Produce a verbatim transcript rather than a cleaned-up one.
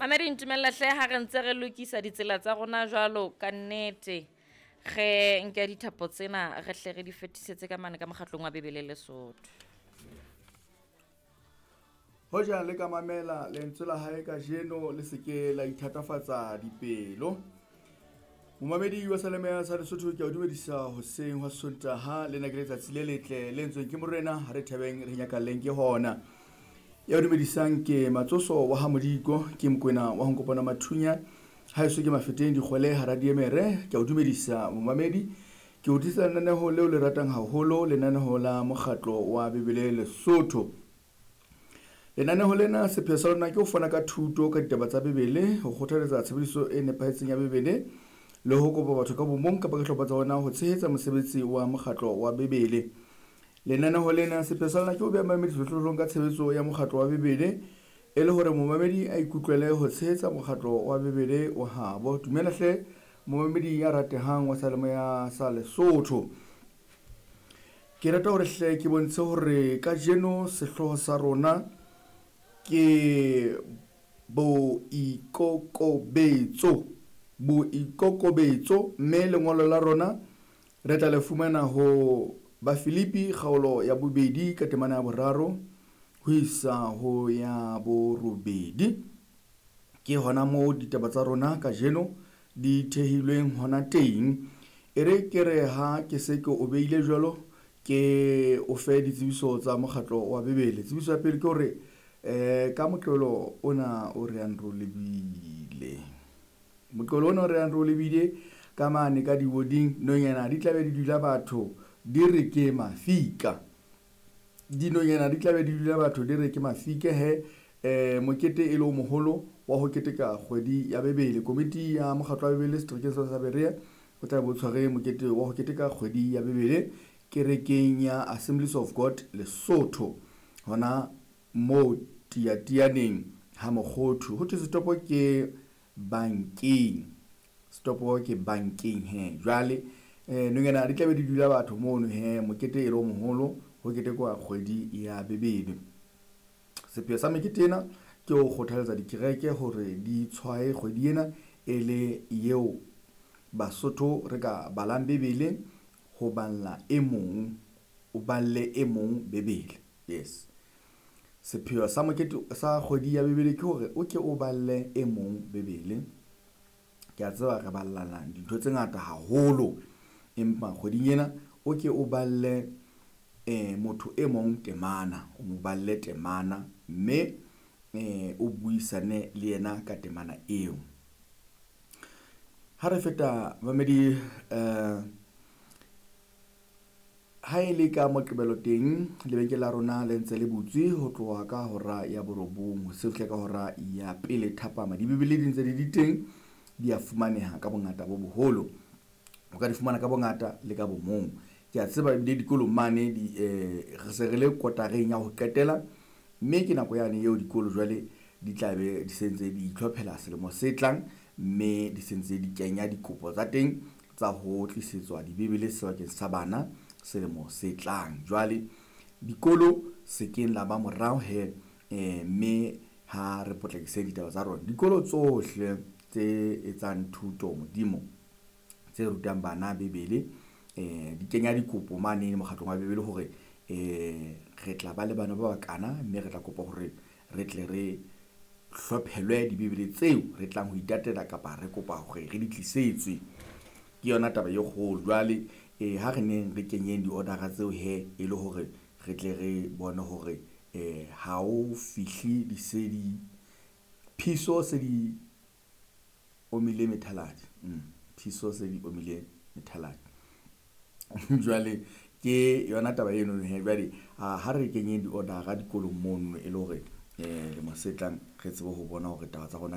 Mamedi, ntumella hle ha re ntse re lokisa ditsela tsa rona jwalo ka nnete. Re nke dithapo tsena re hle re di fetisetse ka mane ka mokgatlong wa Bibele Lesotho. Hoja le ka mamela lentswe la hae kajeno, le se ke la ithatafatsa dipelo. Momamedi wa Seyalemoya sa Lesotho, ke a o dumedisa hoseng hwa Sontaha. Lena ke letsatsi le letle le entsweng ke Morena, ha re thabeng re nyakalleng ke hona. Ya o dumedisang ke Matsoso wa ha Modiko, ke Mokwena wa ho Nkopana Mathunya, haeso ke Mafeteng Dikgwele hara Diemere. Ke a o dumedisa momamedi, ke o tlisa lenaneho leo le ratang haholo, lenaneho la mokgatlo wa Bibele Lesotho. Lenaneho lena sepheo sa lona ke ho fana ka thuto ka ditaba tsa Bibele, ho kgothaletsa tshebediso e nepahetseng ya Bibele, le ho kopa batho ka bomong kapa ka dihlopha tsa bona ho tshehetsa mosebetsi wa mokgatlo wa Bibele. Lenaneho lena sepheo sa lona ke ho beha mamedi sehlohlolong ka tshebetso ya mokgatlo wa Bibele, e le hore momamedi a ikutlwele ho tshehetsa mokgatlo wa Bibele wa habo. Dumela hle momamedi ya ratehang wa Seyalemoya sa Lesotho. Ke rata hore hle ke bontshe hore kajeno sehlooho sa rona ke boikokobetso. Boikokobetso, mme lengolo la rona re tla le fumana ho Bafilipi kgaolo ya bobedi ka temana ya boraro ho isa ho ya borobedi. Ke hona moo ditaba tsa rona kajeno di thehilweng hona teng. E re ke re ha ke se ke o beile jwalo, ke o fe ditsebiso tsa mokgatlo wa Bibele. Tsebiso ya pele ke hore eh ka Moqebelo ona o re yang re o lebile, Moqebelo ona o re yang re o lebile ka mane ka diwoding, nonyana di tlabe di dula batho di re ke mafika. Dinonyana di tlabe di dula batho di re ke mafika he. Eh mokete e le o moholo wa ho keteka kgwedi ya Bibele. Komiti ya mokgatlo wa Bibele seterekeng sa Berea o tla bo tshware mokete wa ho keteka kgwedi ya Bibele kerekeng ya Assemblies of God Lesotho, hona moo Tiatianeng ha Mokgothu. Ho thwe setopo ke bankeng, setopo ke bankeng he. Jwale eh nonyana di tlabe di dula batho mono he, mokete e le o moholo ho ketekwa kgwedi ya Bibele. Sepheo sa mekete ena ke ho kgothaletsa dikereke hore di tshwaye kgwedi ena e le eo Basotho re ka balang Bibele, ho balla e mong, o balle e mong Bibele. Yes. Sepheo sa mokete sa kgwedi ya Bibele ke hore o ke o balle e mong Bibele. Ke a tseba re ballana dintho tse ngata haholo, empa kgweding ena o ke o balle eh motho e mong temana, o mo balle temana mme eh o buisane le yena ka temana eo. Ha re feta mamedi, eh ha e le ka Moqebelo teng, lebenkele la rona le ntse le butswe ho tloha ka hora ya borobong ho se fihle ka hora ya pele thapama. Dibibele di ntse di di teng, di a fumaneha ka bongata bo boholo. O ka di fumana ka bongata le ka bomong. Ke a tseba ebile dikolong mane di eh re se re le kotareng ya ho qetela, mme ke nako yane eo dikolo jwale di tla be di sentse di itlhophela selemo se tlang, mme di sentse di kenya dikopo tsa teng tsa ho tlisetswa dibibele sebakeng sa bana selemo se tlang. Jwale dikolo se keng la ba morao he, eh mme ha re potlakise ditaba tsa rona. Dikolo tsohle tse etsang thuto modimo, tse rutang bana Bibele, eh di kenya dikopo mane mokgatlong wa Bibele hore eh re tla ba le bana ba bakana, mme re tla kopa hore re tle re hlophelwe dibibele tseo re tlang ho itatela kapa re kopa hore re di tlisetswe. Ke yona taba e kgolo. Jwale eh ha re neng re kenyeng di-order-a tseo he, e le hore re tle re bone hore eh ha o fihle di se di phiso se di omile methaladi. Mm, phiso se di omile methaladi. Jwale ke yona taba eno he. Jwale ha re kenyeng di-order-a dikolong mono e le hore eh lemo se tlang re tsebe ho bona hore taba tsa rona di